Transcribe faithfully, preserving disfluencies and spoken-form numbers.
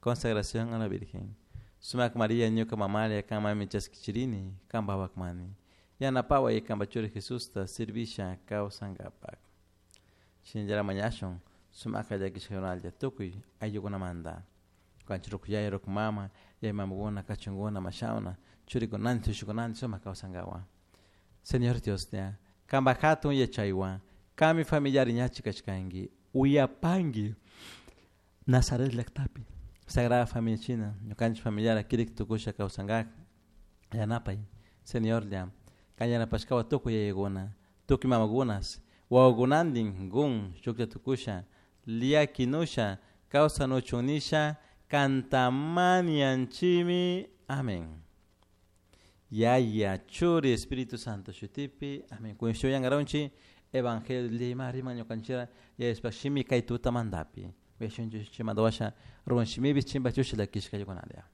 Consagración a la Virgen. Sumak María ñuka mamalla kanmanmi chaskichirini kanpak wawakmani. Yanapaway kanpak churi Jesusta servisha kawsankapak. Shinallara mañashun sumakta llakishkakunalla tukuy ayllukunamanta. Ñukanchik ruku yaya, ruku mama, yaya mamakuna, kachunkuna, mashawna, churikunantin, tushukunantin sumak kawsankawan. Señor Dioslla, kanpak hatun yachaywan, kanmi familiari ñachi kashkanki, uyapanki Nazaret llaktapi, Sagrada Familia shina, ñukanchik familiara kirik tukusha kawsankak, yanapay, Señorlla, kan yanapashkawan tukuy yayakuna, tukuy mamakunas, wawakunantin kun shuklla tukusha, llakinusha kawsanuchun nisha kanta mañanchimi. Amén. Yaya, Churi, Espíritu Santo shutipi. Amén. Kunshuyangaronchi Evangelio lima rima ñukanchira yayashpa shimi kay tutamantapi. Uyashunchik chimandawasha ruwan shimipi chimpa chushila kishka yukunalia.